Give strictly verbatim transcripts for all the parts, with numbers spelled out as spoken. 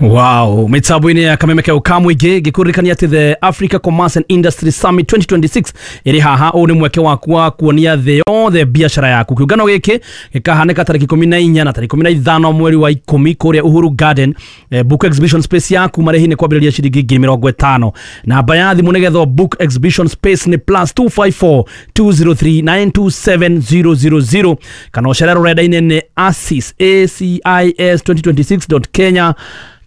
Wow, mitambo-inĩ ya Kameme keu ka mũingĩ, ngĩkũririkania atĩ the Africa Commerce and Industry Summit twenty twenty-six ĩrĩ haha. Ũũ nĩ mweke waku wa kuonia thĩ yothe biacara yaku. Kĩũngano gĩkĩ gĩkahanĩka tarĩki ikũmi na inya na tarĩki ikũmi na ithano mweri wa ikũmi kũrĩa Uhuru Garden. eh, book exhibition space yaku, marĩhi nĩ kwambĩrĩria ciringi ngiri mĩrongo ĩtano. Namba ya thimũ nĩgetha book exhibition space nĩ plus two five four two zero three nine two seven zero zero zero, kana ũcere rũrenda-inĩ nĩ acis acis twenty twenty-six kenya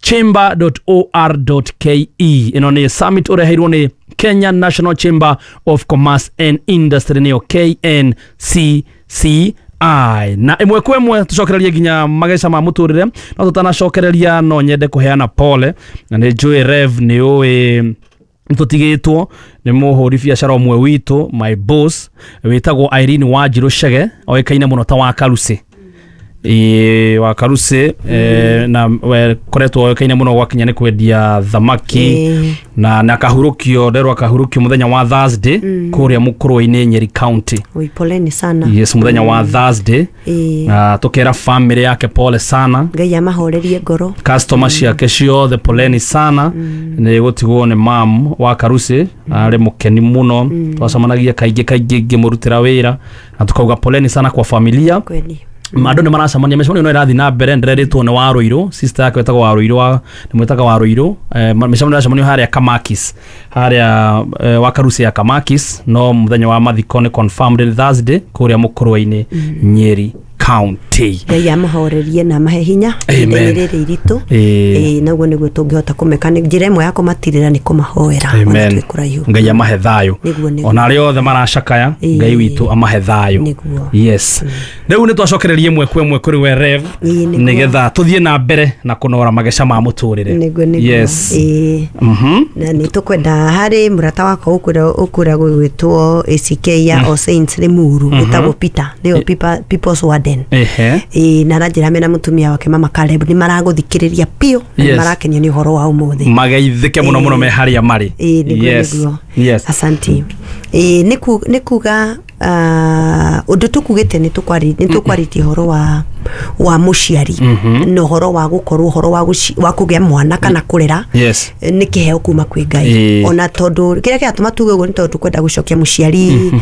chamber dot org dot K E. Ĩno nĩ summit ũreheirwo nĩ Kenya National Chamber of Commerce and Industry, nĩyo K N C C I. Na ĩmwe kwa ĩmwe tũcokererie nginya mageca ma mũtũrĩre. No tũtanacokereria, no nyende kũheana pole, na nĩ njũĩ Rev nĩ ũĩ nĩtũtigĩtwo nĩ mũhũri biacara ũmwe witũ, my boss, wĩtagwo Irene Wanjirũ Chege, oĩkaine mũno ta wa Karusi. Ĩĩ, wa Karusi, eh, na we koretwo oĩkaine mũno gwakinya nĩ kwendia thamaki. Ĩĩ. na na akahurũkio, nderwo akahurũkio mũthenya wa Thursday kũrĩa Mũkũrwe-inĩ, Nyeri County. Oi, poleni sana. Yes, mũthenya wa Thursday. Ĩĩ. Na tukera family yake pole sana. Ngai amahorerie ngoro. Customer ciake ciothe, poleni sana. Nĩ gũtigwo nĩ mam wa Karusi, arĩ mũkeni mũno, twacemanagia kaingĩ kaingĩ ngĩmũrutĩra wĩra, na tukauga poleni sana kwa familia. Kweli. Andũ nĩ maracemania, mĩcemanio no ĩrathiĩ na mbere. Ndĩrerĩtwo nĩ Warũirũ, sister yake wĩtagwo Warũirũ, wa nĩ mwĩtaga Warũirũ. eh, ma- mĩcemanio ĩracemanio harĩa Kamakis, harĩa eh, wa Karusi ya Kamakis, no mũthenya wa mathiko nĩ confirmed nĩ Thursday kũrĩa Mũkũrwe-inĩ, Nyeri County. Ngai amahorerie na amahe hinya Amen. ihinda-inĩ rĩrĩ iritũ. Ĩĩ. Ĩĩ, naguo nĩguo tũngĩhota kũmeka, nĩ njĩra ĩmwe ya kũmatirĩra nĩ kũmahoera ona Amen. twĩ kũraihu. Ngai amahe thayũ. Nĩguo, nĩguo. Ona arĩa othe maracakaya, Ĩĩ. Ngai witũ amahe thayũ. Nĩguo. Yes, rĩu nĩ twacokereria ĩmwe kwa ĩmwe kũrĩ we Rev, Ĩĩ, nĩguo. nĩgetha tũthiĩ na mbere na kũnora mageca ma mũtũrĩre. Nĩguo, nĩguo. Yes. Ĩĩ. Mhm. Na nĩ tũkwenda harĩ mũrata wakwa ũkũrĩa ũkũrĩa gwĩtwo A C K ya All Saints Limuru, wĩtagwo Peter, nĩyo People- People's Warden. Ehe. Ĩĩ, na aranjĩra mena mũtumia wake Mama Caleb nĩ maragũthikĩrĩria biũ na nĩ Yes. marakenio nĩ ũhoro wa ũmũthĩ. Mageithĩke mũno mũno me harĩa marĩ. Ĩĩ, nĩguo. Yes. Nĩguo. Yes. Asanti. Ĩĩ, nĩ ku- nĩ kuga ah, ũndũ tũkugĩte nĩ tũkwari- nĩ tũkwarĩtie ũhoro wa wa mũciari na ũhoro wa gũkorwo ũhoro wa gũci- wa kũgĩa mwana kana kũrera Yes. nĩ kĩheo kuma kwĩ Ngai. Ĩĩ. Ona tondũ kĩrĩa kĩratũma tuge ũguo nĩ tondũ tũkwenda gũcokia mũciari,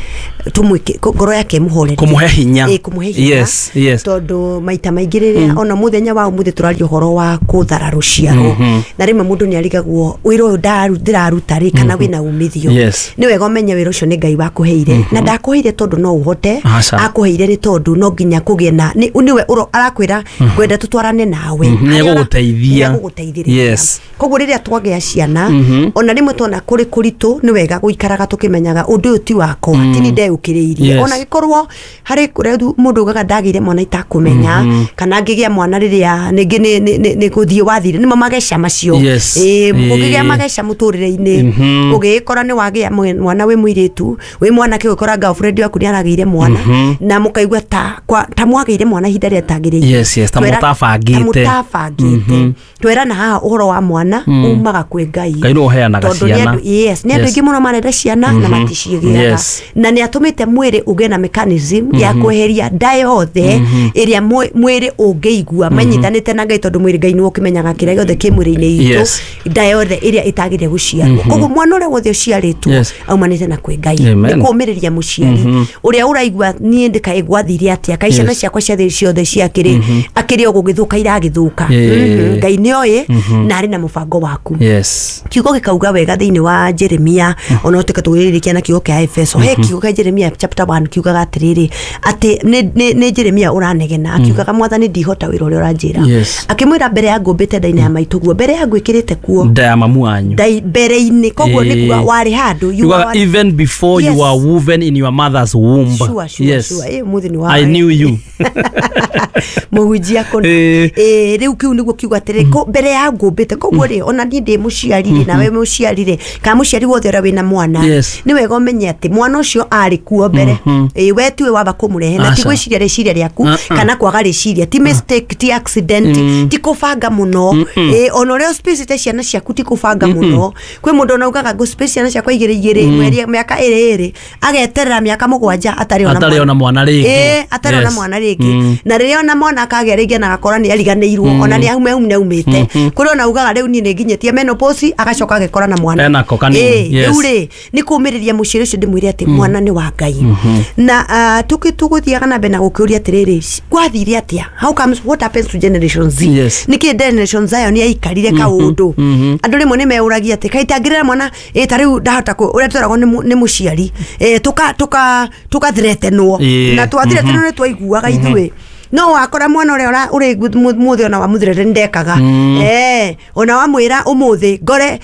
tũmwĩke ngoro yake ĩmũhorerie. Kũmũhe hinya. Ĩĩ, kũmũhe hinya. Yes, yes. Tondũ maita maingĩ rĩrĩa ona mũthenya wa ũmũthĩ tũraria ũhoro wa kũthara rũciaro, na rĩmwe mũndũ nĩ arigagwo wĩra ũyũ ndaru- ndĩraruta rĩ, kana wĩna umithio. Yes. Nĩ wega ũmenye wĩra ũcio nĩ Ngai wakũheire, na ndakũheire tondũ no ũhote. Aca. Akũheire nĩ tondũ no nginya kũgĩe na nĩ nĩwe ũro- arakwĩra ngwenda tũtwarane nawe. Mhm, Harĩa ũra- nĩegũgũteithia. Nĩegũgũteithĩrĩria. Yes. Koguo rĩrĩa twagĩa ciana, ona rĩmwe tuona kũrĩ kũritũ, nĩ wega gũikaraga tũkĩmenyaga ũndũ ũyũ ti wakwa, ti ni ndeũkĩrĩirie. Yes. Ona gĩkorwo harĩ kũrĩa mũndũ ugaga ndagĩire mwana itakũmenya, kana ngĩgĩa mwana rĩrĩa nĩngĩ nĩ- nĩ- nĩ nĩ gũthiĩ wathire, nĩmo mageca macio. Yes. Ĩĩ, ũngĩgĩa Ĩĩ. mageca mũtũrĩre-inĩ, ũgĩgĩkora nĩ wagĩa mwe- mwana wĩ mũirĩtu, wĩ mwanake, ũgĩkora girlfriend waku nĩ aragĩire mwana, na mũkaigua ta kwa- ta mwagĩire mwana ihinda rĩrĩa rĩtagĩrĩire. Yes, yes, ta Twera- mũtabangĩte. Ta mũtabangĩte. Twerana haha ũhoro wa mwana umaga kwĩ Ngai. Ngai nĩwe ũheanaga Tondũ nĩ ciana. andũ- yes, nĩ andũ Yes. aingĩ mũno marenda ciana na maticiĩgĩaga. Yes. Na nĩ atũmĩte mwĩrĩ ũgĩe na mechanism ya kweheria nda yothe ĩrĩa mwĩ- mwĩrĩ ũngĩigua manyitanĩte na Ngai, tondũ mwĩrĩ Ngai nĩwe ũkĩmenyaga kĩrĩa gĩothe kĩ mwĩrĩ-inĩ itũ. Yes. Nda yothe ĩrĩa ĩtagĩrĩire gũciarwo, koguo mwana ũrĩa wothe ũciarĩtwo Yes. aumanĩte na kwĩ Ngai. Amen. Nĩ kũũmĩrĩria mũciari ũrĩa ũraigua niĩ ndĩkaĩ gwathire atĩa, kaĩ ciana Yes. ciakwa ciothe ciothe ciakĩrĩ akĩrĩ o gũgĩthũka iragĩthũka. Yeah. Mhm. Ngai nĩ oĩ na arĩ na mũbango waku. Yes. Kiugo gĩkauga wega thĩinĩ wa Jeremia, ona tuĩke tũgĩrĩrĩkia na kiugo kĩa Efeso, he kiugo kĩa Jeremia chapter one kiugaga atĩrĩrĩ, atĩ nĩ- nĩ nĩ Jeremia ũranegena akiugaga, "Mwathani, ndihota wĩra ũrĩa ũranjĩra." Yes. Akĩmwĩra, "Mbere ya ngũmbĩte nda-inĩ ya maitũguo, mbere ya ngwĩkĩrĩte kuo Nda ya mamu wanyu. ndai mbere-inĩ." Koguo nĩ kuga Ĩĩ. warĩ handũ, you Yugaga were- even before Yes. you were woven in your mother's womb. Sure, sure, yes. sure. Ĩ, ũmũthĩ nĩ wa I knew you. Mũhunjia kũna. Ĩĩ. Ĩĩ, rĩu kĩu nĩguo kiugo atĩrĩ, ko- mbere ya ngũmbĩte. Koguo rĩ, ona niĩ ndĩ mũciari rĩ, nawe mũciari rĩ, kana mũciari wothe ũrĩa wĩna mwana, Yes. nĩ wega ũmenye atĩ mwana ũcio arĩ kuo mbere. Ĩĩ, we tiwe wamba kũmũrehe, na ti Aca. gwĩciria rĩciria rĩaku Uh-uh. kana kwaga rĩciria, ti mistake, ti accident, ti kũbanga mũno. Ĩĩ, ona ũrĩa ũspacĩte ciana ciaku ti kũbanga mũno. Kwĩ mũndũ ona ugaga ngũ space ciana ciakwa igĩrĩ igĩrĩ, mweri mĩaka ĩrĩ ĩrĩ, ageterera mĩaka. mĩaka mũgwanja atarĩ ona atarĩ ona mwana rĩngĩ. Ĩĩ, atarĩ ona mwana rĩngĩ. Na rĩrĩa ona mwana akagĩa rĩngĩ na agakora nĩ ariganĩirwo, ona nĩ aume aume aumĩte. Kũrĩ ona ugaga rĩu niĩ nĩ nginyĩtie menopause, agacoka agekora na mwana. Enako kanini. Ĩĩ, rĩu rĩ nĩ kũmĩrĩria mũciĩ ũcio ndĩmwĩre atĩ mwana nĩ wa Ngai. Na uh, tũgũthiaga na mbere na gũkĩũria atĩrĩrĩ, gwathire atĩa? How comes, what happens to Generation Z? Yes. Nĩkĩ Generation Zion yaikarire kaũndũ? Andũ rĩmwe nĩ meũragia atĩ kaĩ itangĩrera mwana ĩ ta rĩu ndahota ũrĩa tweragwo nĩ mũciari tũka tũka tũkathretenwo na twathretenwo nĩ twaiguaga ithuĩ. No wakora mwana ũrĩa ũrĩ mũthĩ ona wamũthirete ndekaga. Eh, ona wamwĩra ũmũthĩ ngore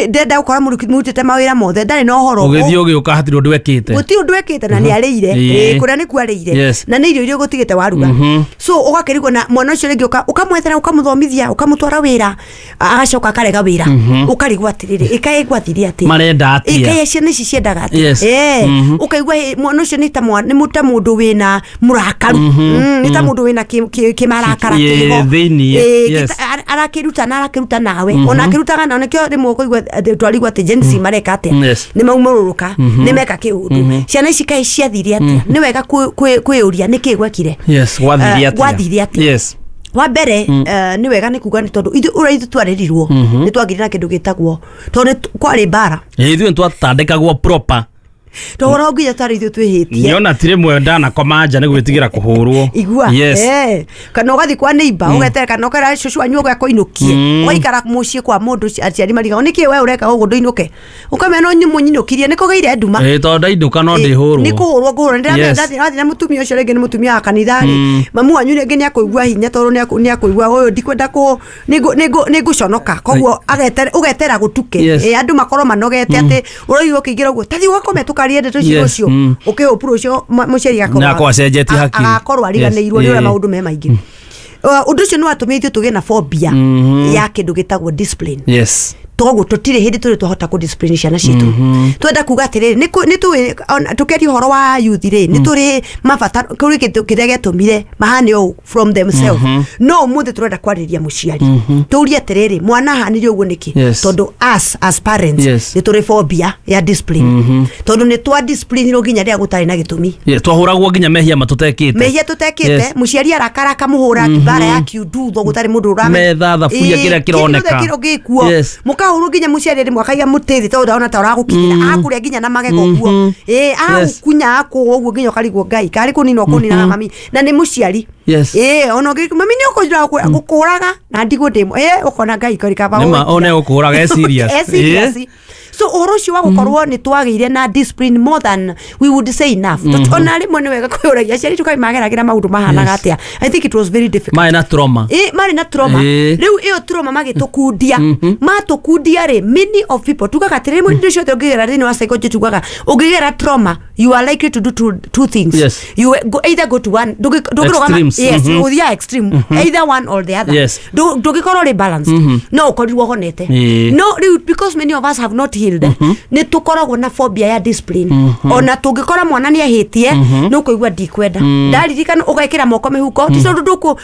ndenda gũkora mũrutĩte mawĩra mothe ndarĩ na ũhoro. Ũgĩthiĩ ũgĩũka hatirĩ ũndũ ekĩte. Gũtirĩ ũndũ ekĩte na nĩ arĩire. Ĩĩ, kũrĩa nĩkuo arĩire. Na nĩ irio iria ũgũtigĩte waruga. So ũgakĩrigwo na mwana ũcio rĩngĩ ũka ũkamwethera ũkamũthomithia ũkamũtwara wĩra agacoka akarega wĩra. Ũkarigwo atĩrĩrĩ ĩkaĩ gwathire atĩa? Marenda atĩa? Ĩkaĩ ciana ici ciendaga atĩa? Eh, ũkaigua mwana ũcio nĩ ta mwana nĩ ta mũndũ wĩna mũrakaru. Nĩ ta mũndũ wĩna kĩmarakara kĩho thĩinĩ. Arakĩruta na arakĩruta nawe ona akĩrutaga na nĩkĩo rĩmwe ũkũigua twarigwo atĩ Gen Z mareka atĩa, nĩ maumũrũrũka, nĩ meka kĩũndũ. Ciana ici kaĩ ciathire atĩa? Nĩ wega kwĩyũria nĩkĩ gwekire, gwathire atĩa. Wa mbere nĩ wega nĩ kuga nĩ tondũ ithuĩ ũrĩa ithuĩ twarerirwo nĩ twagĩire na kĩndũ gĩtagwo tondũ kwarĩ mbara. Ithuĩ twatandĩkagwo proper. Tondũ nginya tarĩ ithuĩ twĩhĩtie. Niona tirĩ mwe ndanakoma nja nĩ gwĩtigĩra kũhũrwo. Igua. Eh, kana ũgathiĩ kwa neighbor ũgeterera kana ũkera cũcũ wanyu ũgakũinũkie. Ũgaikara mũciĩ kwa mũndũ aciari marigagwo nĩkĩ we ũreka ũguo ndũinũke. Ũkamenya no mũnyinũkirie nĩ kũgĩire nduma. Ĩĩ, tondũ ndainũka no ndĩhũrwo. Nĩ kũhũrwo ngũhũrwo. Ndathiĩ na mũtumia ũcio rĩngĩ nĩ mũtumia wa kanitha rĩ. Mamu wanyu rĩngĩ nĩ akũigua hinya tondũ nĩ akũigua ũyũ ndikwenda kũ nĩ ngũconoka. Koguo ũgetera gũtuke. Ĩĩ, andũ makorwo manogete atĩ ũraigua ũkĩingĩra ũguo tathi ũgakome tũkarie ndeto icio ũcio ũkĩhũpura ũcio mũciari agakorwo acenjetie hakiri agakorwo ariganĩirwo nĩ ũrĩa maũndũ me maingĩ. Ũndũ ũcio nĩ watũmire ithuĩ tũgĩe na phobia ya kĩndũ gĩtagwo discipline. Yes. Toguo tũtirĩ hĩndĩ tũrĩ twahota kũ discipline ciana citũ. Twenda kuga atĩrĩrĩ nĩ tũĩ tũkĩaria ũhoro wa youth rĩ nĩ tũrĩ mabata kũrĩ kĩndũ kĩrĩa gĩatũmire mahane ũũ from themselves. No ũmũthĩ tũrenda kwarĩria mũciari. Tũrie atĩrĩrĩ mwana ahanire ũguo nĩkĩ? Tondũ us as parents nĩ tũrĩ phobia ya discipline. Tondũ nĩ twa discipline nginya rĩrĩa gũtarĩ na gĩtũmi. Twahũragwo nginya mehia matũtekĩte. Mehia tũtekĩte, mũciari arakara akamũhũra mbara ya kiundutho gũtarĩ mũndũ ũramenya. Metha thaburia kĩrĩa kĩroneka. Kĩrĩa gĩkuo. Mũkahũrwo nginya mũciari rĩmwe akaiga mũtĩ thĩ tondũ ndona ta ũragũkinyĩra akũrĩa nginya na magego ũguo. Ĩĩ, agũkunya akũgwo ũguo nginya ũkarigwo Ngai karĩ kũninwo kũninaga mami na nĩ mũciari. Ĩĩ, ona ũngĩ mami nĩ ũkũnjĩra gũkũraga na ndigwo ndĩ ĩĩ ũkona Ngai kori kaba. Nĩma one gũkũraga e serious. E serious. So ũhoro ũcio wa gũkorwo nĩ twagĩire na discipline more than we would say enough. Ona rĩmwe nĩ wega kwĩyũragia aciari tũkaĩ mageragĩra maũndũ mahanaga atĩa. I think it was very difficult. Marĩ na trauma. Ĩĩ, marĩ na trauma. Rĩu ĩyo trauma magĩtũkundia. Matũkundia rĩ many of people tugaga atĩrĩ rĩmwe indo ciothe ũngĩgera thĩinĩ wa psychology tugaga ũngĩgera trauma you are likely to do two, two things. Yes. You go, either go to one ndũngĩrũgama yes, ũthiaga extreme either one or the other. Ndũngĩkorwo rĩ balanced. No ũkorirwo ũhonete. No rĩu because many of us have not healed nĩ tũkoragwo na phobia ya discipline. Ona tũngĩkora mwana nĩ ahĩtie nĩ ũkũigua ndikwenda. Ndaririkana ũgekĩra moko mĩhuko ti tondũ ndũkũ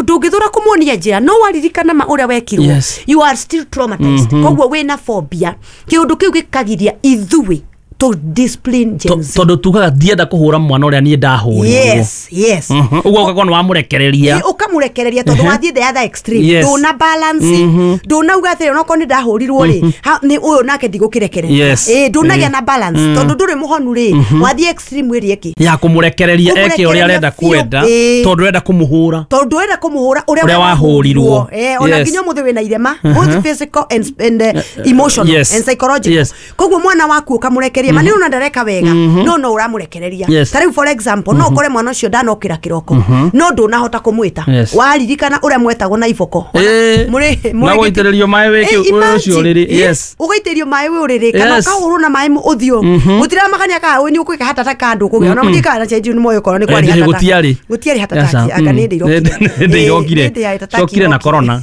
ndũngĩthũra kũmuonia njĩra no waririkana ma ũrĩa wekirwo you are still traumatized. Koguo wĩna phobia kĩũndũ kĩu gĩkagiria ithuĩ to discipline Gen Z. Tondũ tugaga ndienda kũhũra mwana ũrĩa niĩ ndahũrirwo. Yes, yes. Ũguo ũgakorwo nĩ wamũrekereria. Ũkamũrekereria tondũ wathiĩ the other extreme. Ndũna balance. Ndũnauga atĩrĩ onokorwo nĩ ndahũrirwo rĩ nĩ ũyũ nake ndigũkĩrekereria. Ĩĩ, ndũnagĩa na balance tondũ ndũrĩ mũhonu rĩ wathiĩ extreme ĩrĩa ĩngĩ. Ya kũmũrekereria eke ũrĩa arenda kwenda tondũ ũrenda kũmũhũra. Tondũ ũrenda kũmũhũra ũrĩa wahũrirwo. Eh, ona nginya ũmũthĩ wĩna irema both physical and and emotional and psychological. Koguo mwana waku ũkamũrekereria ma nĩ ona ndareka wega no no ũramũrekereria. Ta rĩu for example no ũkore mwana ũcio ndanokĩra kĩroko no ndũnahota kũmwĩta waririkana ũrĩa mwetagwo na iboko na gũitĩrĩrio maĩ wĩ ũcio ũrĩrĩ. Yes, ũgaitĩrĩrio maĩ wĩ ũrĩrĩ kana ũkahũrwo na maĩ ũthiũ gũtiramakania kana nĩ ũkwĩka hatata kandũ kũgĩa ona mũthiĩ kana change nĩ moyo korwo nĩ kwarĩ hatata gũtiarĩ gũtiarĩ hatata anga nĩ ndĩ irokire cokire na corona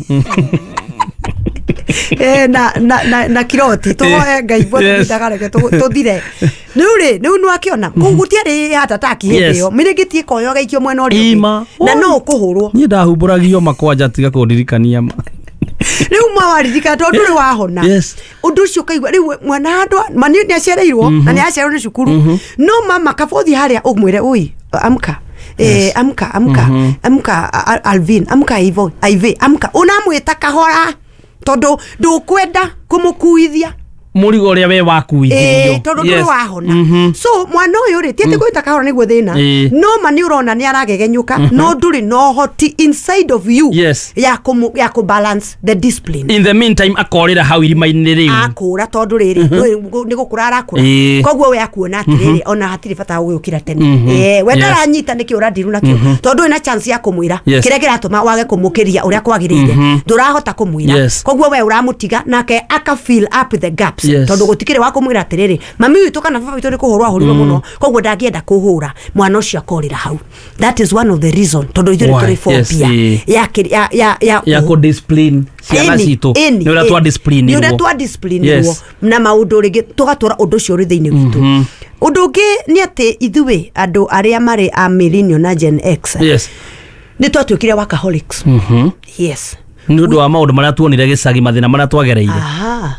eh na na na na kiroti tuhoe Ngai bwana ndagareke tuthire riu ri riu no akiona kuu gutiari hatataki hindi yo miringitie koyo gaikio mwena uri na no ukuhurwo nie ndahumbũragio makwanja tiga kundirikania ma Rĩu mawaririkana tondũ ndũrĩ wahona. Yes. Ũndũ ũcio ũkaigua rĩu mwana handũ ma nĩ nĩacereirwo na nĩ acererwo nĩ cukuru, no mama kabothi harĩa ũmwĩre, "Oi, amka." Eh, amka, amka, amka, A- A- Alvin, amka, Ivo, Ive, amka." Unamwĩta kahora tondũ ndũkwenda kũmũkuithia mũrigo ũrĩa we wakuithirio. Ĩĩ, tondũ ndũrĩ wahona. So mwana ũyũ rĩ, ti atĩ gwĩta kahora nĩguo thĩna. Ĩĩ. No ma nĩ ũrona nĩ aragegenyũka, no ndũrĩ na ũhoti inside of you Yes. ya kũmũ- ya kũ balance the discipline. In the meantime akorĩra hau irima-inĩ rĩu. Akũra tondũ rĩrĩ nĩ gũkũra arakũra. Ĩĩ. Koguo we akuona atĩrĩrĩ, ona hatirĩ bata wa gũgĩũkĩra tene. Ĩĩ, we Yes. ndaranyita nĩkĩ ũrandiru nakĩo, tondũ wĩna chance ya kũmwĩra Yes. kĩrĩa kĩratũma wage kũmũkĩria ũrĩa kwagĩrĩire, ndũrahota kũmwĩra. Yes. Koguo we ũramũtiga nake aka fill up the gaps. Yes. Tondũ gũtikĩrĩ wa kũmwĩra atĩrĩrĩ, mami witũ kana baba witũ nĩ kũhũrwo ahũrirwo mũno, koguo ndangĩenda kũhũra mwana ũcio, akorĩra hau. That is one of the reason tondũ ithuĩ nĩ Why? tũrĩ Yes, phobia ĩĩ. ya kĩrĩ- ya ya ya Ya kũ discipline ciana Ĩni, citũ. ĩni, Nĩ ũrĩa twa ĩni. discipline Nĩ ũrĩa irwo. twa discipline Yes. na maũndũ rĩngĩ tũgatũra ũndũ ũcio ũrĩ thĩinĩ witũ. Ũndũ ũngĩ nĩ atĩ ithuĩ andũ arĩa marĩ a millennial na Gen X Yes. nĩ twatuĩkire workaholics. Yes. Nĩ ũndũ wa maũndũ marĩa tuonire gĩcagi, mathĩna marĩa twagereire. Aha.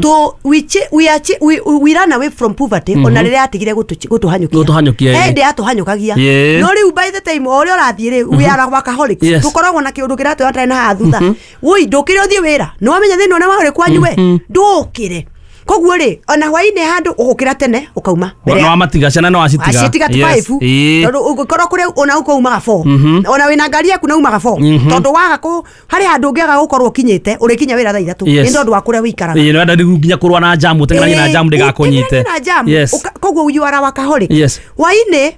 To we, ch- we, are ch- we, we ran away from poverty ona rĩrĩa yatigire gũtũ- gũtũhanyũkia. Gũtũhanyũkia, ĩĩ. Hĩndĩ yatũhanyũkagia. Ĩĩ. No rĩu by the time o ũrĩa ũrathiĩ rĩ, we are workaholics. Yes. Tũkoragwo na kĩũndũ kĩratwĩra na haha thutha, woi, ndũkĩre ũthiĩ wĩra, nĩ wamenya thĩna ũrĩa warĩ kwanyu, we ndũkĩre. Koguo rĩ, ona hwainĩ handũ ũgũkĩra tene ũkauma mbere No ya- wamatiga ciana, no wacitiga. wacitiga Yes. five. Ĩĩ. Tondũ ũngĩkorwo kũrĩa ona ũko umaga four, ona wĩna ngari yaku na umaga four, tondũ waga kũ harĩ handũ ũngĩaga gũkorwo ũkinyĩte, ũrĩkinya wĩra thaa ithatũ Yes. nĩ tondũ wa kũrĩa wĩikaraga. Ĩĩ, nĩwenda rĩu nginya kũrũa na jamu, ũteng'eranie na jamu ndĩgakũnyite. Ũteng'eranie na jamu. Yes. Ũka- koguo you are a workaholic. Yes. Hwainĩ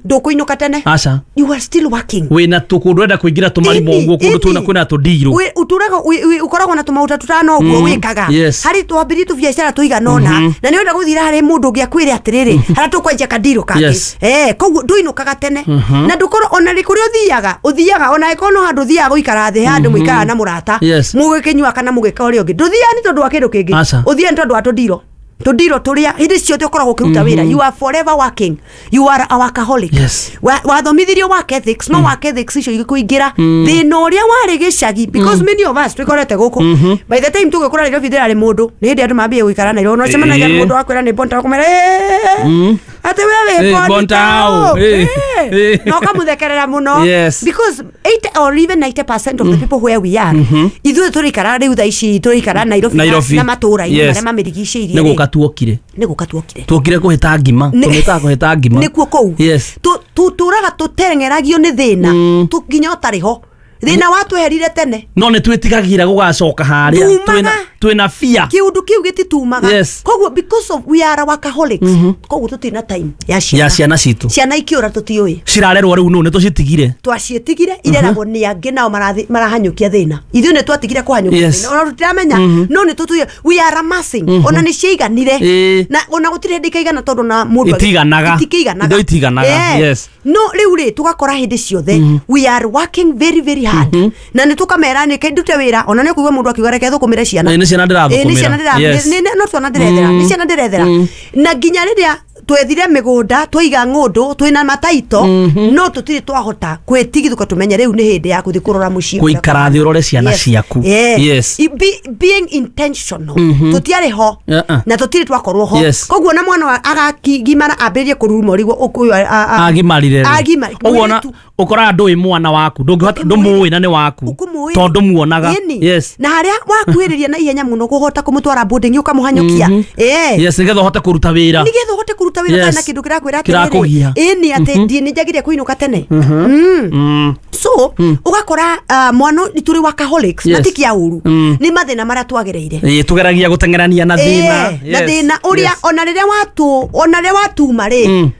ndũkũinũka tene. Aca. You are still working. Wĩna tũkũndũ ũrenda kũingĩra tũmarima Ĩni, ũguo, kũndũ ĩni. twĩna kwĩna tũndirũ. Wĩ- ũtũraga wĩ- wĩ- ũkoragwo na tũmaũta tũtano ũguo wĩkaga. Yes. Harĩ twambirie tũbiacara tũigana ũna na nĩ ũrenda gũthira harĩ mũndũ ũngĩ akwĩre atĩrĩrĩ, harĩa tũkwanjia kandirũ kangĩ. Yes. Eh, koguo ndũinũkaga tene na ndũkorwo ona rĩ kũrĩa ũthiaga ũthiaga ona ĩkorwo no handũ ũthiaga gũikara thĩ, handũ mũikaraga na mũrata, Yes. mũgĩkĩnyua kana mũgĩka ũrĩa ũngĩ, ndũthiaga nĩ tondũ wa kĩndũ kĩngĩ. Aca. Ũthiaga nĩ tondũ wa tũndiro tũndiro tũrĩa hĩndĩ ciothe ũkoragwo ũkĩruta wĩra. You are forever working, you are a workaholic. Yes. Wa- wathomithirio work ethics, no work ethics icio igĩkũingĩra thĩna ũrĩa warĩ gĩcagi, because many of us twĩkorete gũkũ. By the time tũgĩkũra Nairobi ndĩrarĩ mũndũ, nĩ hĩndĩ andũ mambie gũikara Nairobi no cemanagia na Ĩĩ. mũndũ wakwĩra nĩ bonta, ũkamwĩra, "Eh, atĩ we wĩ Ĩĩ, Bonta Bonta ũ?" ũ. Ĩĩ. Ĩĩ. Ĩĩ. Na ũkamũthekerera mũno. Yes. Because eighty or even ninety percent of the people where we are, ithuĩ tũrĩikara rĩu thaa ici tũrĩikara Nairobi na- Nairobi. na matũũra-inĩ Yes. marĩa mamĩrigicĩirie Nĩ rĩ, gũka tuokire. Nĩ gũka tuokire. Tuokire kũhĩta ngima. Nĩ- Tũmĩtaga kũhĩta ngima. Nĩkuo kũu. Yes. Tũtũraga tũteng'eragio nĩ thĩna tũ- nginya ũtarĩ ho thĩna watweherire tene. No nĩ twĩtigagĩra gũgacoka harĩa. Tumaga. Twĩna- twĩna fear. Kĩũndũ kĩu gĩtitumaga. Yes. Koguo because of we are workaholics, koguo tũtirĩ na time ya ciana. Ya ciana citũ. Ciana ikĩũra tũtiũĩ. Cirarerwo rĩu nũ? Nĩ tũcitigire. Twaciĩtigire ireragwo nĩ angĩ, nao marathi- marahanyũkia thĩna. Ithuĩ nĩ twatigire kũhanyũkia Yes. thĩna, ona tũtiramenya, no nĩ tũtuire we are amassing, ona nĩ ciaiganire. Ĩĩ. Na ona gũtirĩ hĩndĩ ikaigana tondũ na mũndũ agĩ- Itiganaga. itikĩiganaga. Indo itiganaga, Eh. yes. No rĩu rĩ, tũgakora hĩndĩ ciothe we are working very very hard, na nĩ tũkamera nĩ ndute wĩra, ona nĩ ũkũigua mũndũ akiuga, "Reke thũkũmĩre ciana." Ĩĩ, nĩ ciana Ĩĩ, nĩ ciana ndĩrathũkũmĩra. ndĩra- Yes. nĩ- nĩ- no twana ndĩrethera, nĩ ciana ndĩrethera. Na nginya rĩrĩa twethire mĩgũnda, twaiga ng'ũndũ, twĩna mataito, no tũtirĩ twahota kwĩtigithũka tũmenye rĩu nĩ hĩndĩ ya gũthiĩ kũrora mũciĩ. Gũikara thĩ ũrore ciana Yes. ciaku. Yeah. Yes. I- be- being intentional tũtiarĩ ho. Uh-uh. Na tũtirĩ twakorwo ho. Yes. Koguo na mwana wa- agakigimara ambĩrĩrie kũruruma ũrigwo ũkũyũ Agimarire rĩ. Agimari- Ũguo ona mũirĩtu. ũkoraga ndũĩ mwana waku, ndũngĩhota, ndũmũĩ na nĩ waku. Ũkũmũĩ. Tondũ muonaga. Ĩni. Yes. Na harĩa wakuhĩrĩria na ihenya mũno kũhota kũmũtwara boarding ũkamũhanyũkia. Eh. Yes, nĩgetha ũhote kũruta wĩra. Nĩgetha ũhote kũruta wĩra. Yes. Yes. Na kĩndũ kĩrakwĩra Kĩrakũgia. ĩni atĩ ndiĩ nĩ njagĩrĩire kũinũka tene. Mm. Mm. So ũgakora uh, mwana tũrĩ workaholics na Yes. ti kĩa ũru, Mm. nĩ mathĩna marĩa twagereire. Ĩĩ, tũgeragia gũteng'erania na thĩna. Ĩĩ, na Yes. thĩna ũrĩa Yes. ona rĩrĩa watu ona rĩrĩa watuma rĩ, Mm.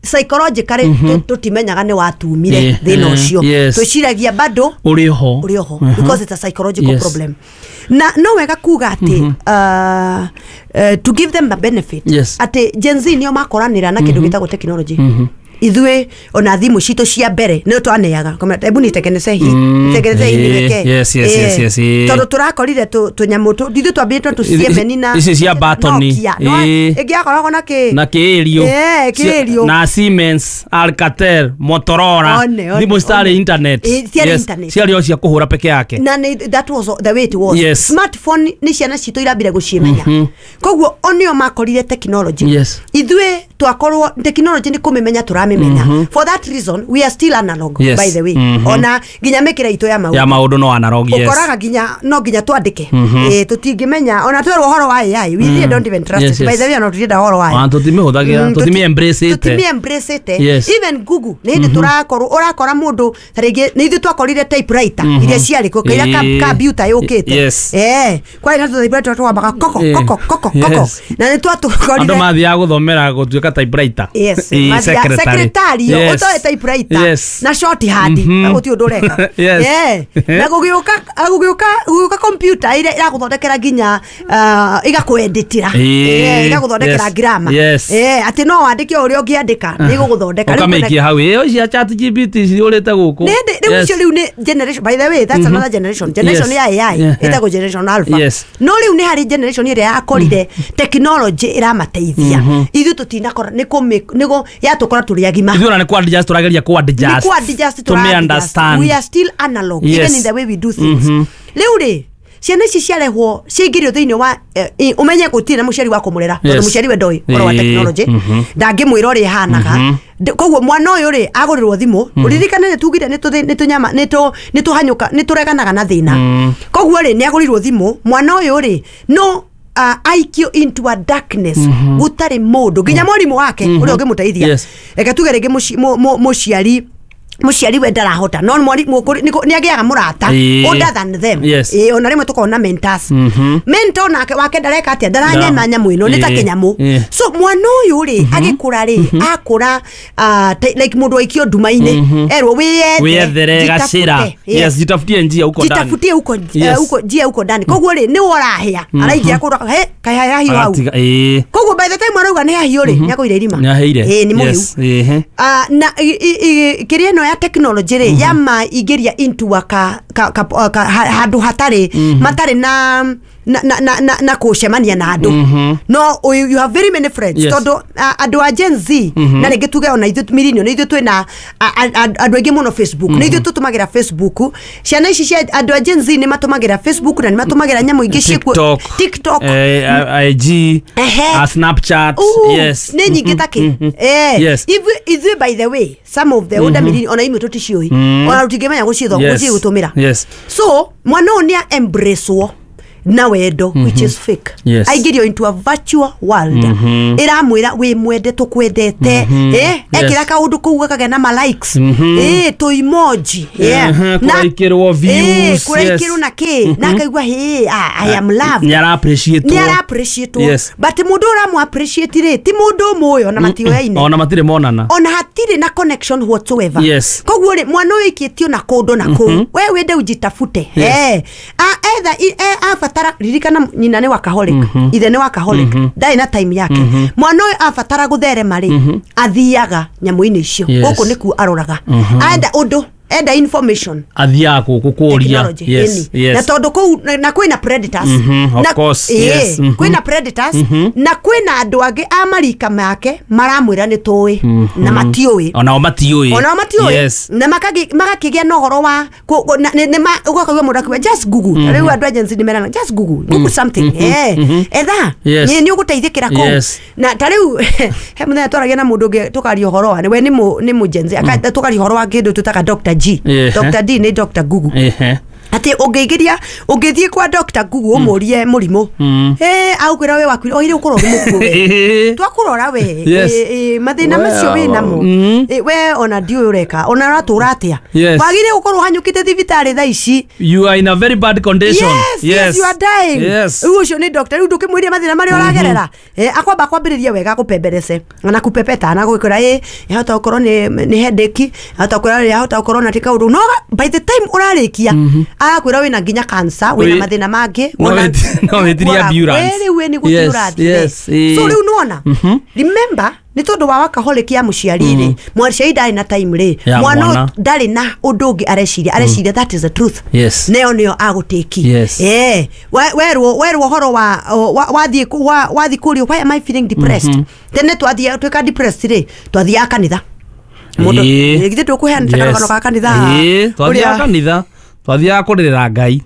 psychologically tũ- tũtimenyaga nĩ watumire Ĩĩ, thĩna ĩĩ, ũcio. yes. Twĩciragia bado ũrĩ ho. ũrĩ oho, Mhm. because it's a psychological Yes. problem. Na no wega kuga atĩ uh, uh, to give them a benefit Yes. atĩ Gen Z nĩo makoranĩra na kĩndũ gĩtagwo technology. Ithuĩ ona thimũ citũ cia mbere nĩ twaneaga hebu nitengeneze hii nitengeneze hii niweke. Yes, yes, yes, yes. Tondũ tũrakorire tũnyamũ ithuĩ twambĩrĩte tũciemeni na ici cia batoni ĩngĩ yakoragwo na kĩ na kĩĩrio kĩĩrio na Siemens, Alcatel, Motorola, thimũ citarĩ internet, ciarĩ o cia kũhũra peke yake na that was the way it was. Yes. Smartphone nĩ ciana citũ irambire gũcimenya, koguo onio makorire technology. Ithuĩ twakorwo technology nĩ kũmĩmenya tũramĩmenya. For that reason we are still analog. Yes. By the way, ona nginya mĩkĩre itũ ya maũndũ ya maũndũ no analog. Yes, ũkoraga nginya no nginya twandĩke eh tũtingĩmenya ona twerwo ũhoro wa A I we really don't even trust yes, it. By the way, ona tũtirenda ũhoro wa A I ona tũtimĩhũthagĩra, tũtimi embrace it, tũtimi embrace it. Yes. Even Google nĩ hĩndĩ tũrakorwo ũrakora mũndũ ta rĩngĩ nĩ ithuĩ twakorire typewriter iria ciarĩ kuo kĩrĩa computer yũkĩte. Yes. Eh kwarĩ na typewriter twambaga koko koko koko koko na nĩ twatũkorire andũ mathiaga gũthomera gũtuĩka typewriter. Yes, secretary ũtoe typewriter yes. na shorthand gũtirĩ ũndũ ũreka. Yes. Eh na gũgĩũka gũgĩũka gũgĩũka computer ĩrĩa ĩragũthondekera nginya ĩgakũeditĩra, ĩgagũthondekera grammar. Eh atĩ no wandĩke ũrĩa ũngĩandĩka nĩ ĩgũgũthondeka. Ũkamĩikia hau ĩyo cia Chat G P T ciũrĩte gũkũ. Rĩu icio rĩu nĩ generation, by the way that's another generation, generation ya A I ĩtagwo generation alpha. No rĩu nĩ harĩ generation ĩrĩa yakorire technology ĩramateithia, ithuĩ tũtinakora nĩ kũmĩ nĩgo yatũkora tũrĩ agima. Ithuĩ ona nĩ kũ adjust tũrageria kũ adjust, nĩ kũ adjust to me understand we are still analog. Yes. Even in the way we do things. Rĩu rĩ ciana ici ciarehwo ciaingĩrio thĩinĩ wa ũmenye gũtirĩ na mũciari wa kũmũrera tondũ mũciari we ndoĩ ũhoro wa technology, ndangĩmwĩra ũrĩa ĩhanaga. Koguo mwana ũyũ rĩ agũrĩrwo thimũ, ũririkane nĩ tugire nĩ tũnyama nĩ tũhanyũka nĩ tũreganaga na thĩna, koguo rĩ nĩ agũrĩrwo thimũ mwana ũyũ rĩ no Uh, I Q into a darkness gũtarĩ mũndũ nginya mwarimũ wake ũrĩa ũngĩmũteithia. Reke tuge rĩngĩ mũciari mũciari we ndarahota no mwarimũ nĩ agĩaga mũrata older than them. Eh ona rĩmwe tũkorwo na mentors, mentor nake wake ndareka atĩa, ndaranyema nyamũ ĩno nĩ ta kĩnyamũ. So mwana ũyũ rĩ agĩkũra rĩ akũra like mũndũ aikio nduma-inĩ erwo wĩyethere gacĩra. Yes, jitafutie njia huko ndani, jitafutie huko huko njia huko ndani. Koguo rĩ nĩ worahĩa araingĩra kũrora he kaĩ hahiũ hau. Koguo by the time arauga nĩ hahiũ rĩ nĩ agũire irima, nĩ nĩ mũhiũ. Na kĩrĩa ĩno ya technology rĩ ya maingĩria into a ka handũ hatarĩ matarĩ na na na na na kũcemania na andũ. No you have very many friends tondũ andũ a Gen Z na rĩngĩ tuge ona ithuĩ millennial nĩ ithuĩ twĩna andũ aingĩ mũno Facebook, nĩ ithuĩ tũtũmagĩra Facebook. Ciana ici cia andũ a Gen Z nĩ matũmagĩra Facebook na nĩ matũmagĩra nyamũ ingĩ ciĩkuo TikTok, I G, Snapchat. Yes, nĩ nyingĩ ta kĩ. Eh ithuĩ by the way some of the older millennial ona imwe tũticiũĩ ona tũtingĩmenya gũcithoma gũcigũtũmĩra. So mwana ũyũ nĩ embrace na wendo which is fake. Yes. Aingĩrio into a virtual world ĩramwĩra wĩ mwende tũkwendete, eh ekĩra kaũndũ kũu gakagĩa na ma likes, eh tũ emoji, na kũraikĩrwo views, kũraikĩrwo na kĩ na akaigua hey I am loved, nĩ ara appreciate, nĩ ara appreciate. But mũndũ ũramũ appreciate rĩ ti mũndũ ũmũĩ ona matioyaine ona matirĩ monana ona hatirĩ na connection whatsoever. Koguo rĩ mwana ũyũ aikĩtio na kũndũ na kũu we wende ujitafute. Eh either abatara ririkana nyina nĩ workaholic, ithe nĩ workaholic, ndarĩ na time yake. Mwana ũyũ abatara gũtherema rĩ athiaga nyamũ-inĩ icio gũkũ nĩkuo aroraga, enda ũndũ enda information athiaga gũkũ kũria. Yes, yes. Na tondũ kũu na kwĩna predators, of course, yes, kwĩna predators na kwĩna andũ angĩ a marika make maramwĩra nĩ tũĩ na matiũĩ, onao matiũĩ, onao matiũĩ, na magakĩgĩa na ũhoro wa ũgakaigua mũndũ akiuga just Google. Rĩu andũ agency nĩ merana just Google, Google something, eh etha nĩ ũgũteithĩkĩra kũu. Na ta rĩu he mũthenya twaragia na mũndũ ũngĩ tũkaria ũhoro wa we nĩ nĩ mũgenzi tũkaria ũhoro wa kĩndũ twĩtaga Doctor G. Doctor D nĩ Doctor Google. Ati ũngĩingĩria ũngĩthiĩ kwa Doctor Google ũmũrie mũrimũ eh agũkwĩra we waku oire ũkorwo ũrĩ mũkuũ we twakũrora we mathĩna macio wĩ namo we ona ndiũĩ ũreka ona ũratũra atĩa wagire gũkorwo ũhanyũkĩte thibitarĩ thaa ici, you are in a very bad condition. Yes, yes, you are dying. Rĩu ũcio nĩ doctor, rĩu ndũkĩmwĩrie mathĩna marĩa ũragerera akwamba kwambĩrĩria wega akũpemberece na kũpepeta na gũkwĩra ĩ yahota gũkorwo nĩ headache, yahota gũkorwo yahota gũkorwo na ti kaũndũ, no by the time ũrarĩkia Arakwĩra wĩna nginya cancer, wĩna Wĩ- mathĩna mangĩ. No wona- wĩti- no wĩtirie ambulance. Wĩ rĩu nĩ gũthiĩ Yes, ũrathiĩ. yes, ĩĩ. So rĩu nĩwona, remember, nĩ tondũ wa workaholic ya mũciari rĩ, mũciari ndarĩ na time rĩ, Ya mwana mwana. ndarĩ na ũndũ ũngĩ areciria, areciria that is the truth. Yes. Neo nĩyo agũtĩki. Yes. Eh, we- werwo werwo ũhoro wa wa- wathiĩ kũ- wa- wathiĩ kũrio, "Why am I feeling depressed?" Tene twathiĩ twĩka depressed rĩ, twathiaga kanitha. Mũndũ Ĩĩ. githĩ ndũkũheanĩte karũgano ga kanitha haha? Ĩĩ, twathiaga Ũrĩa- kanitha, twathiaga kũrĩrĩra Ngai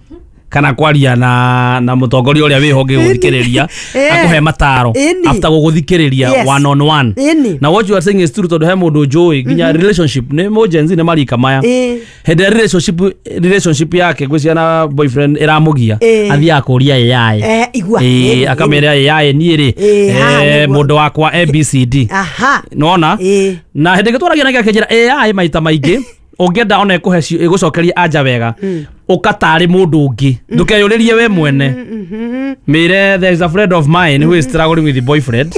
kana kwaria na na mũtongoria ũrĩa wĩho ũngĩgũthikĩrĩria, Ĩĩ. akũhe mataro Ĩni. after gũgũthikĩrĩria Yes. one on one. Ĩni. Na what you are saying is true, tondũ he mũndũ njũĩ nginya relationship nĩ mũ Gen Z nĩ marika maya. Ĩĩ. Hĩndĩ ĩrĩa relationship relationship yake ngwĩciria na boyfriend ĩramũgia, Ĩĩ. athiaga kũria A I. Eh, igua. Ĩĩ, Ĩni, akamĩra A I, niĩ rĩ, Ĩĩ, haha eh, nĩguo. mũndũ wakwa A B C D. Aha. Nona Ĩĩ. na hĩndĩ ĩngĩ twaragia nake akĩnjĩra A I maita maingĩ ũngĩenda ona ĩkũhe ci- ĩgũcokerie anja wega, ũkatarĩ mũndũ ũngĩ, ndũkeyũrĩrie we mwene, mĩre, "There is a friend of mine who is struggling with the boyfriend,"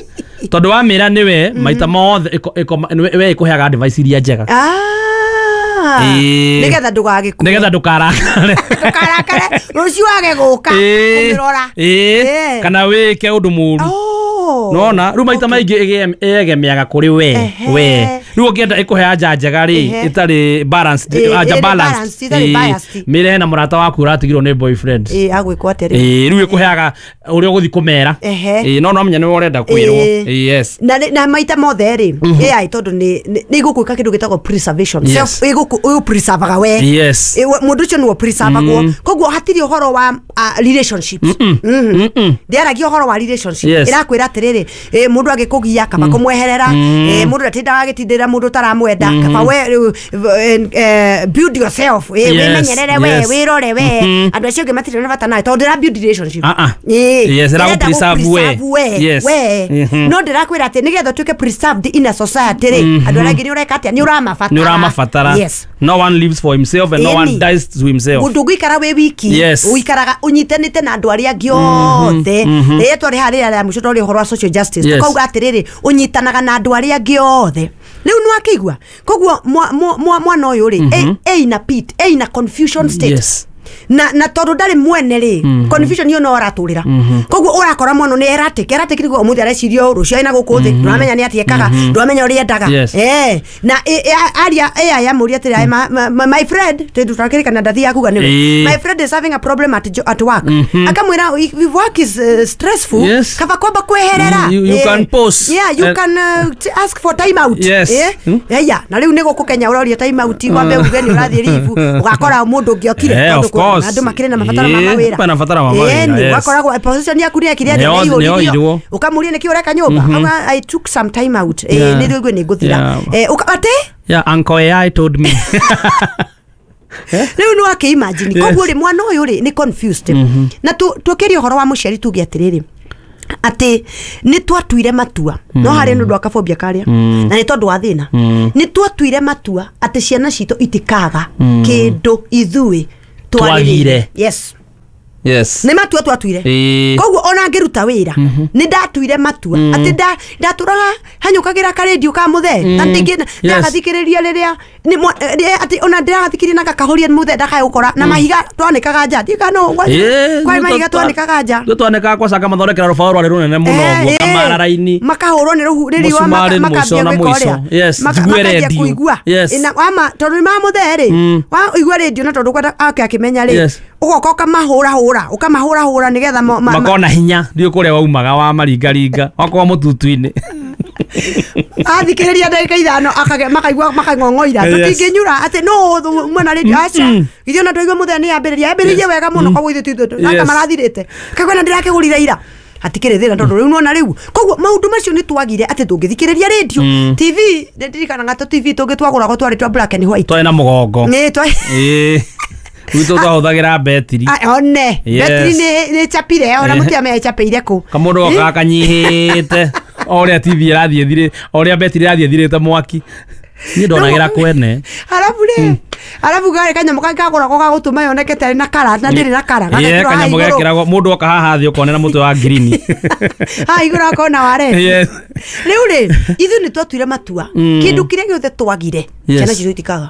tondũ wamĩra nĩwe maita mothe ĩko- ĩko- nĩwe- we ĩkũheaga advice iria njega. Ah. Ĩĩ. Nĩgetha ndũgagĩkue. Nĩgetha ndũkarakare. Ndũkarakare rũciũ wage gũka Ĩĩ. kũmĩrora. Ĩĩ. Ĩĩ. Kana wĩke ũndũ mũru. Oh. Nona rĩu maita maingĩ ĩge- ĩegemeaga kũrĩ we. Ehe. We rĩu ũngĩenda ĩkũhe anja njega rĩ, Ehe. ĩtarĩ balanced, Ĩ, anja ĩrĩ balanced, balanced, ĩtarĩ Ĩ, biased. mĩre hena mũrata waku ũratigirwo nĩ boyfriend. Ĩĩ, agwĩkwo atĩa rĩu? Ĩ, rĩu ĩkũheaga ũrĩa ũgũthiĩ kũmera. Ehe. Ĩ, no no menya nĩwe ũrenda kwĩrwo. Ĩ. Ĩ, yes. Na na maita mothe rĩ, A I tondũ nĩ nĩ nĩ igũkwĩka kĩndũ gĩtagwo preservation. Yes. Self ĩgũkũ ũpreservaga we. Yes. Ĩ, we- mũndũ ũcio nĩwe preservagwo, koguo hatirĩ ũhoro wa uh, relationships. Mhm. Ndĩaragia ũhoro wa relationship. Yes. Ĩrakwĩra atĩrĩrĩ, ĩ, mũndũ agĩkũgia kaba kũmweherera, ĩ, mũndũ ndatindaga agĩtindĩra mũndũ ũtaramwenda, kaba we rĩu, eh, eh, build yourself, ĩ, Yes, wĩmenyerere we, yes. wĩrore we, andũ acio angĩ matirĩ na bata nawe tondũ ndĩra build relationship. Ah, ah. Ĩ, Yes, ĩra ĩrenda gũ-preserve we. gũ-preserve we, Yes. we. Mhm. No ndĩrakwĩra atĩ nĩgetha ũtuĩke preserved in a society rĩ, andũ arĩa angĩ nĩ ũreka atĩa? Nĩ ũramabatara. Nĩ ũramabatara. Yes. No one lives for himself and no one Ĩni. dies to himself. Ndũngĩikara wĩ wiki. Yes. Ũikaraga ũnyitanĩte na andũ arĩa angĩ othe. Rĩrĩa twarĩ harĩa rĩa mũico twarĩ ũhoro wa social justice, Yes. tũkauga atĩrĩrĩ, ũnyitanaga na andũ arĩa angĩ othe. Rĩu nĩwakĩigua koguo mwa- mwa- mwa- mwana ũyũ rĩ, e- e in a pit, e in a confusion state. Yes. Na na tondũ ndarĩ mwene rĩ, confusion iyo no aratũrĩra, koguo ũrakora mwana nĩ erratic. Erratic nĩguo ũmũthĩ areciria ũũ, rũciũ aina gũkũ thĩ, ndũramenya nĩ atĩa ekaga, ndũramenya ũrĩa endaga. Yes. Eh, na ĩ- ĩ- aria ĩ amũria atĩrĩ, "My- my- my- my friend," tondũ twakĩrĩkana ndathiaga kuga nĩwe, Ĩĩ. "My friend is having a problem at, jo- at work," akamwĩra, "If if work is uh, stressful, Yes. kaba kwamba kweherera." You- you Eh, can pause. Yeah, you And- can uh, t- ask for time out. Yes. Eh? Mm. Aya, na rĩu nĩ gũkũ Kenya ũroria time out, wambe uge nĩ ũrathiĩ leave, ũgakora mũndũ ũngĩ okire, Eh, tondũ of course. andũ makĩrĩ na mabataro ma Ĩĩ, mawĩra. kwĩna mabataro ma mawĩra, Ĩni, yes. ũgakoragwo position yaku nĩ yakire atĩa, Nĩyo- nĩ nĩyo iyũririo. irwo. Ũkamũria nĩkĩ ũreka nyũmba. Auga, "I took some time out." Eh, Yeah. nĩ rĩu nĩ ngũthira. Yeah. Eh, ũka- atĩ Yeah, Uncle A I told me. Rĩu nĩ wakĩimagine. Yes. Koguo rĩ, mwana ũyũ rĩ nĩ confused. Na tu- tũkĩria ũhoro wa mũciari, tuge atĩrĩrĩ, atĩ nĩ twatuire matua, no harĩ nĩ ũndũ wa kabobia karĩa na nĩ tondũ wa thĩna, nĩ twatuire matua atĩ ciana citũ itikaga kĩndũ ithuĩ Twagire. twarĩrĩire. Yes. Yes. Nĩ matua twatuire. Ĩĩ. Koguo ona ngĩruta wĩra nĩ ndatuire matua atĩ nda- ndatũraga hanyũkagĩra karendio ka mũthee na ndingĩ Yes. ndagathikĩrĩria rĩrĩa nĩ mwa- eh, atĩ ona ndĩragathikĩrĩria na gakahoria mũthee ndakae gũkora na mahiga twanĩkaga nja ndiũĩ no Ĩĩ, kwari mahiga twa- twanĩkaga nja. Ithuĩ twanĩkaga kwacanga mathondekera rũbaũ rwarĩ rũnene mũno Eh, ũguo eh, kamarara-inĩ. Makahũrwo nĩ rũhu nĩ riũa. Mũcumarĩ maka- mũico makambia na gwĩka mũico. ũrĩa. Yes, Maka- njigue makambia redio. kũigua. Yes. Ĩna- wama tondũ nĩ mamũthee rĩ, waigua rĩndio na tondũ kwenda ake akĩmenya rĩ, Yes. ũgoka ũkamahũrahũra, ũkamahũrahũra nĩgetha mo- ma- ma- Makona hinya ndiũ kũrĩa waumaga wa maringaringa wakorwo mũtutu-inĩ. Athikĩrĩria ndagĩka ithano akage- makaigua makang'ong'oira. Yes. Tũtingĩnyura atĩ no mwena rĩndio, aca, ithuĩ ona twaigua mũthenya nĩ yambĩrĩria yambĩrĩirie wega mũno, koguo ithuĩ titũ Yes. aka marathirĩte kaigua na ndĩrakĩgũrire ira, hatikĩrĩ thĩna tondũ rĩu nona rĩu. Koguo maũndũ macio nĩ twagire atĩ tũngĩthikĩrĩria rĩndio, T V, ndirikanaga tũ T V tũngĩ twagũragwo twarĩ twa black and white. Twarĩ na mũgongo. Nĩ twa Ĩĩ. Gwitũ twahũthagĩra betiri. Ah, one Yes. betiri nĩ nĩ chapire ona Eh. mũtiamenya ĩchapĩire kũ. Kamũndũ gokaga kanyihĩte o ũrĩa T V ĩrathiĩ ĩthirĩ, o ũrĩa betiri ĩrathiĩ ĩthirĩte mwaki, niĩ ndonagĩra kwene. Arabu rĩ, arabu garĩ kanyamũ kangĩ kagũragwo ga gũtũma yoneke tarĩ na kara na ndĩrĩ na kara. Ĩĩ, Gagekĩrwo haha kanyamũ igũrũ. gekĩragwo mũndũ oka haha thĩ ũkonera mũtwe wa ngirini. Haha igũrũ akona wa red. Yes. Rĩu rĩ, ithuĩ nĩ twatuire matua, kĩndũ kĩrĩa gĩothe twagire, Yes. ciana citũ itikaga.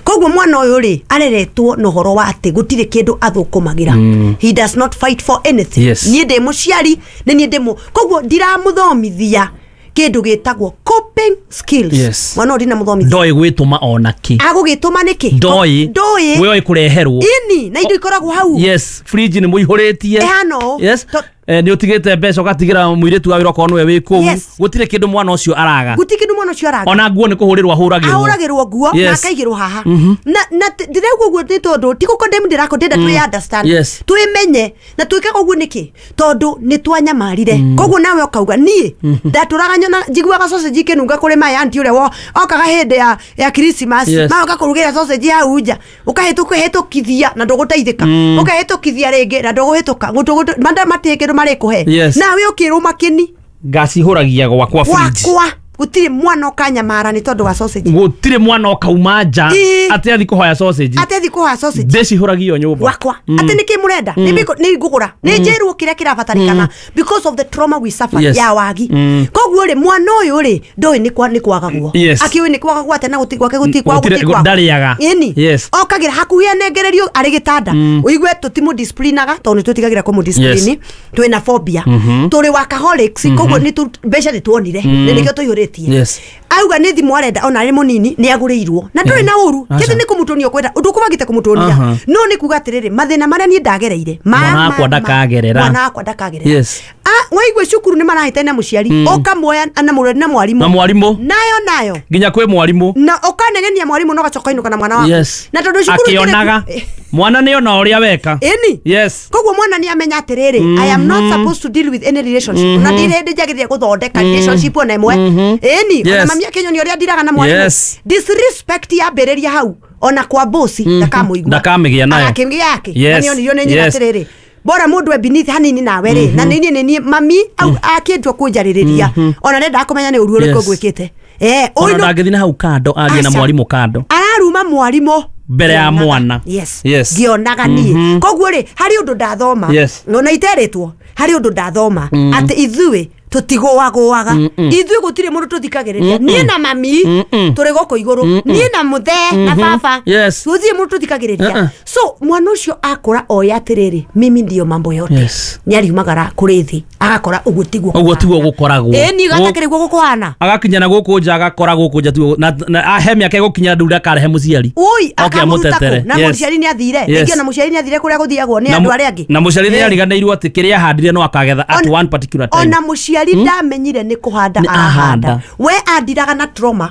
Koguo mwana ũyũ rĩ areretwo na ũhoro wa atĩ gũtirĩ kĩndũ athũkũmagĩra. He does not fight for anything. Yes. Niĩ ndĩ mũciari nĩ niĩ ndĩ mũ koguo ndiramũthomithia kĩndũ gĩtagwo coping skills. Yes. Mwana ũyũ ndinamũthomithia. Ndoĩ gwĩtũma ona kĩ. Agũgĩtũma nĩkĩ? Ndoĩ. Ndoĩ. We oĩ kũreherwo. Ini na indo ikoragwo hau. Yes, fridge nĩ mũihũrĩtie. Ĩhana ũũ. Yes. To- Eh, nĩ ũtigĩte mbeca ũgatigĩra mũirĩtu wa wĩra okorwo nĩwe wĩ kũu. Yes. Gũtirĩ kĩndũ mwana ũcio araga. Gũtirĩ kĩndũ mwana ũcio araga. Ona nguo nĩ kũhũrĩrwo ahũragĩrwo. Ahũragĩrwo nguo na Yes. akaigĩrwo haha. Na na ndĩrauga ũguo nĩ tondũ ti gũkondemn ndĩrakondenda twĩ understand. Yes. Twĩmenye na twĩkaga ũguo nĩkĩ? Tondũ nĩ twanyamarire. Koguo nawe ũkauga niĩ ndatũraga nyona njiguaga sausage ikĩnunga kũrĩ my auntie ũrĩa wo- okaga hĩndĩ ya ya Christmas. Yes. Magoka kũrugĩra sausage hau nja. Ũkahĩtũkĩhĩtũkithia na ndũgũteithĩka. Ũkahĩtũkithia rĩngĩ na ndũgũhĩtũka. Gũtũ manda matirĩ kĩndũ marĩkũhe. Yes. Nawe ũkĩrũma kĩni. Ngacihũragia gwakwa fridge. Gwakwa gũtirĩ mwana ũkanyamara nĩ tondũ wa sausage. Gũtirĩ mwana ũkauma nja Ĩĩ. atĩ athi kũhoya sausage. Atĩ athi kũhoya sausage. Ndĩcihũragia o nyũmba. Gwakwa atĩ nĩkĩ mũrenda nĩ biko- nĩ ngũgũra nĩ njĩrwo kĩrĩa kĩrabatarĩkana because of the trauma we suffered Yes. ya wagi. Mm. Koguo rĩ mwana ũyũ rĩ ndoĩ nĩ kwa nĩ kwagagwo. Yes. Akĩũĩ nĩ kwagagwo atĩa na gũti gwake gũti kwa Gũtirĩ- gũti kwa. ndarĩaga. Ĩni. Yes. Okagĩra hakuhĩ anengererio arĩ gĩtanda. Ũigue tũtimũdisciplinaga tondũ nĩ twĩtigagĩra kũmũdiscipline. Twĩna phobia. Tũrĩ workaholics koguo nĩ tu mbeca nĩ tuonire. Nĩ nĩkĩo tũihũrĩtie. Yes. Auga nĩ thimũ arenda ona arĩ mũnini nĩ agũrĩirwo na ndũrĩ na ũru Aca. kĩndũ nĩ kũmũtũnia ũkwenda ũndũ ũkũbangĩte kũmũtũnia Aha. no nĩ kuga atĩrĩrĩ mathĩna marĩa niĩ ndagereire ma- Mwana ma- wakwa ma- ndakagerera. mwana wakwa ndakagerera. Yes. Ah, waigua cukuru nĩ marahĩtania na mũciari ũkamuoya na mũreri na mwarimũ Na mwarimũ. nayo nayo Nginya kwĩ mwarimũ. na ũkanegenia mwarimũ na ũgacoka ũinũka na mwana waku. Yes. Na tondũ cukuru itirĩ- Akĩonaga. Eh, Mwana nĩ ona ũrĩa weka. ĩni. Yes. Koguo mwana nĩ amenya atĩrĩrĩ I am not supposed to deal with any relationship na ndirĩ hĩndĩ njagĩrĩire gũthondeka relationship ona ĩmwe. Ĩni ona Yes. mami akĩnyonia ũrĩa ndiraga na mwarimũ. Yes. Disrespect yambĩrĩria hau ona kwa bosi ndakamũigua. Ndakamĩgĩa nayo. Agakĩgĩa yake. Yes. Na nĩonirio nĩ nyina Yes. atĩrĩrĩ bora mũndũ e beneath hanini nawe rĩ na nĩ niĩ nĩ niĩ mami au akĩndua kũnjarĩrĩria ona ndendaga kũmenya nĩ ũru ũrĩkũ Yes. ngwĩkĩte. Eh, Ona ũyũ ndangĩthiĩ na hau kando arie na Aca. mwarimũ kando. Araruma mwarimũ Mbere ya Ngĩonaga. mwana. Yes. Yes. Ngĩonaga niĩ koguo rĩ harĩ ũndũ ndathoma Yes. ona iterĩtwo harĩ ũndũ ndathoma atĩ ithuĩ tũtigũagũaga ithuĩ gũtirĩ mũndũ tũthikagĩrĩria niĩ na mami tũrĩ gũkũ igũrũ niĩ na mũthee na baba Yes. gũtirĩ mũndũ tũthikagĩrĩria. Uh-uh. So mwana ũcio akũra oya atĩrĩrĩ mimi ndiyo mambo yote. Yes. Nĩ ariumagara kũrĩ thĩ agakora ũguo tiguo Ũguo tiguo gũkoragwo. ĩni gatakĩrĩ guo gũkũhana. Agakinya na gũkũ nja agakora gũkũ nja tiguo na na he mĩaka ĩgũkinya ndũ ndakarehe mũciari. Ui, Oke akamũruta kũ amũtetere. na Yes. mũciari nĩ athire Yes. rĩngĩ ona mũciari nĩ athire kũrĩa gũthiagwo nĩ Na andũ mu- arĩa angĩ. na mũciari nĩ Eh. ariganĩirwo atĩ kĩrĩa ahandire no akagetha at Ona- one particular time. ona mũciari ndamenyire nĩ kũhanda Nĩ arahanda ahanda. we andiraga na trauma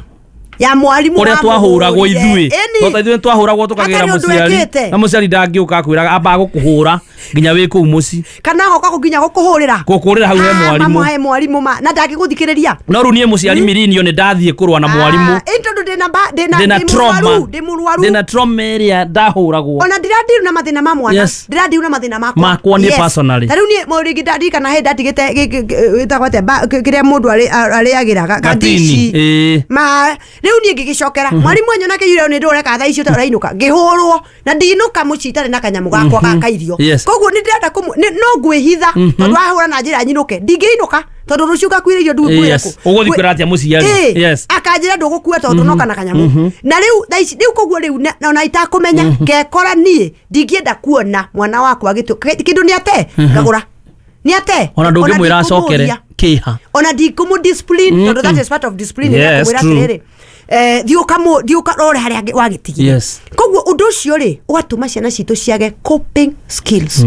ya mwarimũ ũrĩa twahũragwo ithuĩ Ĩni. tota ithuĩ twahũragwo tũkagĩra Hatarĩ ũndũ mũciari ekĩte. na mũciari ndangĩũka akwĩraga amba gũkũhũra nginya wĩ kũu mũciĩ kana agoka nginya gũkũhũrĩra gũkũrĩra hau he Ah, mwarimũ mama he mwarimũ ma na ndangĩgũthikĩrĩria no rĩu niĩ mũciari mirinio nĩ ndathiĩ kũrũa na mwarimũ Ah, ĩ tondũ ndĩna ba- ndĩna ndĩna ndĩ trauma mũrwaru ndĩ mũrwaru ndĩna trauma ĩrĩa ndahũragwo ona ndirandiru na mathĩna ma mwana Yes. ndirandiru na mathĩna makwa Makwa niĩ personally. ta rĩu niĩ mo rĩngĩ ndarikana hĩndĩ ndatigĩte gĩ- gĩ- gĩ- ĩtagwo atĩa ba- kĩ- kĩrĩa mũndũ arĩ- arĩagĩra ga- Gatini, gatici ĩĩ. ma rĩu niĩ ngĩgĩcokera mwarimũ anyona kĩiyũre nĩ ndũreka thaa icio ũrainũka ngĩhũrwo na ndinũka mũciĩ itarĩ na kanyamũ gakwa ga kairio Yes. koguo nĩ ndĩrenda kũmũ nĩ- no ngwĩhitha tondũ wahũra na njĩra nyinũke ndingĩinũka tondũ rũciũ ngakuire irio ndũkuĩra Yes. Ũgũthiĩ kwĩra atĩa mũciari? Yes. Akanjĩra ndũgũkua tondũ noka na kanyamũ na rĩu thaa ici rĩu koguo rĩu na- ona itakũmenya ngekora niĩ ndingĩenda kuona mwana wakwa agĩtu kĩndũ nĩ ate ngagũra nĩ ate ona ndũngĩmwĩra acokere ndikũmũria. kĩha Ona ndikũmũ discipline tondũ that is part of discipline Yes, kũmwĩra true. atĩrĩrĩ eh, thiĩ ũkamũ thiĩ ũkarore harĩa angĩ- wagĩtigire Yes. koguo ũndũ ũcio rĩ ũgatũma ciana citũ ciage coping skills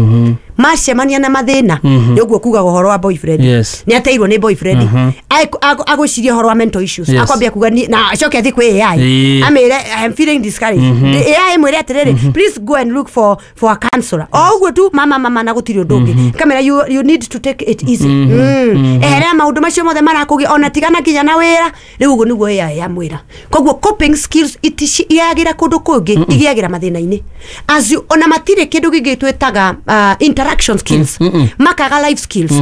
macemania na mathĩna nĩ ũguo kugaga ũhoro wa boyfriend Yes. nĩ ateirwo nĩ boyfriend Ai- agũ- agwĩciria ũhoro wa mental issues Yes. akwambia kuga ni- na acoke athiĩ kwĩ A I Ĩĩ. amĩre I am feeling discouraged A I ĩmwĩre atĩrĩrĩ please go and look for for a counselor o ũguo tu mama mama na gũtirĩ ũndũ ũngĩ kamera you, you need to take it easy Mm. eherera maũndũ macio mothe marakũgia ona tigana nginya na wĩra rĩu ũguo nĩguo A I yamwĩra koguo coping skills itiagĩra kũndũ kũngĩ igĩagĩra mathĩna-inĩ as you, ona matirĩ kĩndũ gĩngĩ twĩtaga uh, interaction skills makaga life skills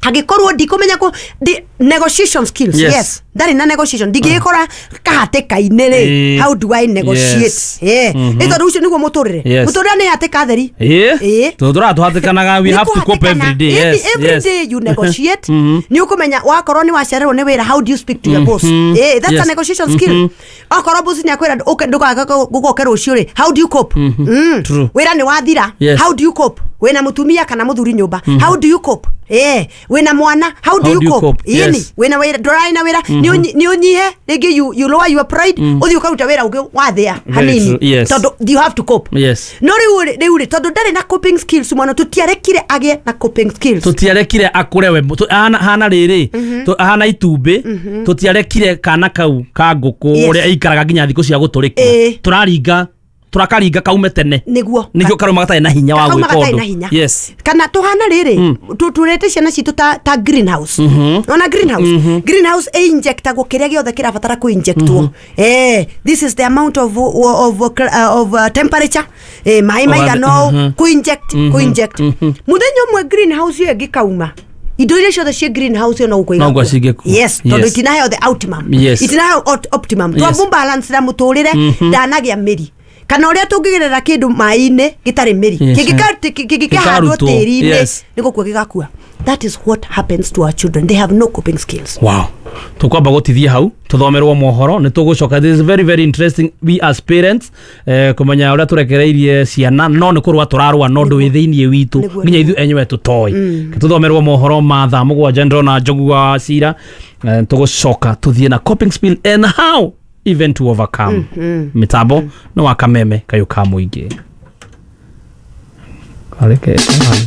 hangĩkorwo ndikũmenya kũ ndi- Negotiation skills. Yes. Yes, ndarĩ na negotiation. Ndingĩgĩkora kahatĩka-inĩ rĩ, Ĩĩ. how do I negotiate? Yes. Eh, nĩ tondũ ũcio nĩguo mũtũrĩre. Yes. Mũtũrĩre nĩ hatĩka theri. Ĩĩ. Ĩĩ. Tondũ tũratũhatĩkanaga, we have to cope every day. Every, Yes. every yes. day you negotiate. Nĩ ũkũmenya wakorwo nĩ wacererwo nĩ wĩra, how do you speak to your boss? Eh, that's Yes. a negotiation skill. Okorwo boss nĩ akwĩra ũke ndũgoke rũciũ rĩ, how do you cope? Mm. True. Wĩra nĩ wathira, Yes. how do you cope? Wĩna mũtumia kana mũthuri nyũmba, how do you cope? Eh, wĩna mwana, how do How you do you cope? cope? Ĩni, Yes. wĩna wĩra, ndũrarĩ na wĩra, nĩ ũnyi- nĩ ũnyihe rĩngĩ, you, you lower your pride, ũthiĩ ũkaruta wĩra ũngĩ wathĩa Very hanini, true. Yes. tondũ you have to cope. Yes. No rĩu rĩ- rĩu rĩ, tondũ ndarĩ na coping skills, mwana tũtiarekire agĩe na coping skills. Tũtiarekire akũre we tũ- ahana hana rĩrĩ, tũ- ahana itumbĩ, tũtiarekire kana kau ka ngũkũ Yes. ũrĩa aikaraga nginya thikũ cia gũtũrĩkia. Ĩĩ. Tũraringa, tũrakaringa kaume tene. Nĩguo. Nĩkĩo karuma gatarĩ na hinya wa Kauma gwĩka gatarĩ na ũndũ. hinya. Yes. Kana tũhana rĩrĩ, tũrete ciana citũ ta, ta greenhouse. Ona greenhouse, greenhouse ĩ injectagwo kĩrĩa gĩothe kĩrabatara kũ injectwo. Eh, this is the amount of, of, of, of uh, temperature, eh, maĩ maigana ũũ, kũ inject, kũ inject. Mũthenya ũmwe greenhouse ĩyo ĩngĩkauma, indo iria ciothe ciĩ greenhouse ĩyo no gũkua No gũkua igakua. cingĩkua. Yes, tondũ Yes. itinaheo the optimum. Yes. Itinaheo ot- optimum. Yes. Twamũ balance na mũtũrĩre ndanagĩa mĩri, kana ũrĩa tũngĩgerera kĩndũ maĩ-inĩ gĩtarĩ mĩri, Yes. kĩngĩka- kĩngĩkĩhandwo Gĩkarutwo. tĩri-inĩ, Yes. nĩ gũkua gĩgakua. That is what happens to our children. They have no coping skills. Wow, tukwamba gutithia hau, tuthomerwo mohoro, nĩ tũgũcoka. This is very very interesting, we as parents, eh, kũmenya ũrĩa tũrekereirie ciana, no nĩ kũrũa tũrarũa no ndũ wĩ thĩiniĩ witũ Nĩguo, nginya ithuĩ enyewe tũtoĩ. Tũthomerwo mohoro ma thaa mũgwanja, ndĩrona Njogu wa Cira. eh, tũgũcoka tũthiĩ na coping skill and how even to overcome. Mĩtambo nĩ wa Kameme kayũ ka mũingĩ. Kareke.